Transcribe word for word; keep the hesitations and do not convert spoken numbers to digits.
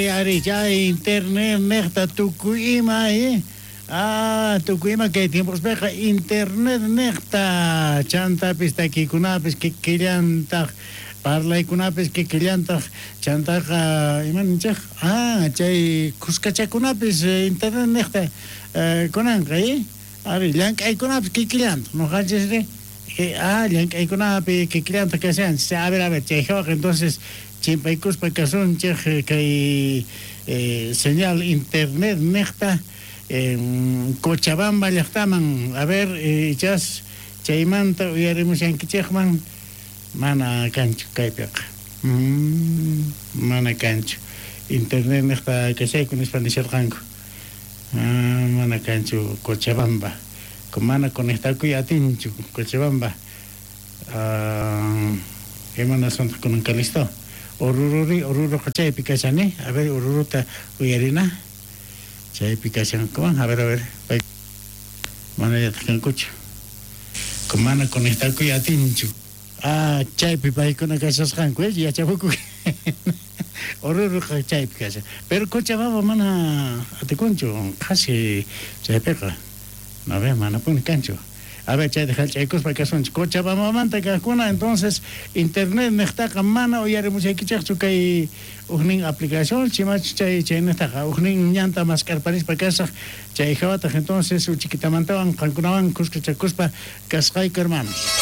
Ari, chay internet nejta tukuy ima, eh? Ah, tukuy ima kay tiempospeqa internet nejta chantapis takikunapis kikillantaj parlaykunapis kikillantaj chantaqa ima ninchej ah chay kuskachakunapis internet nejta eh, kunanqa eh? Ari, llank'aykunapis kikillantaj noqanchisri ah llank'aykunapi kikillantaj kashanchis. A ver, a ver, chay hawaqa entonces chimpaykuspa kasunchej kay eh, señal internet nejta eh, Cochabamba llaqtaman. A ver, eh, ichas chaymanta uyarimushankichejman mana kanchu kaypiqa. Mm, mana kanchu internet nejta kashayku nispa nisharqanku. Ah, mana kanchu Cochabamba, mana conectakuy atinchu Cochabamba. Ah, imanaswantaj kunanqa listo Orururi, Oruroqa chaypi kashani. A ver, Oruruta uyarina. Chaypi kashankuman. A ver, a ver. Manallataj kankuchu. Mana conectakuy atinchu. Ah, chaypi paykuna kashasqanku, eh, yachapuku. Oruruqa chaypi kashan. Pero Cochabamba mana atikunchu, qhasi chaypiqa. A ver, manapuni kanchu. A ver, chayta hallch'aykuspa kasunchik. Cochabambamanta kaqkuna, entonces internet nejtaqa mana uyarimushaykichikchu kay ujnin aplicación, chimachu chay chaynejtaqa ujnin ñanta mask'arparispa kasaq chay hawataq entonces uchikitamantawan qankunawan kuskachakuspa kasqayku, hermanos.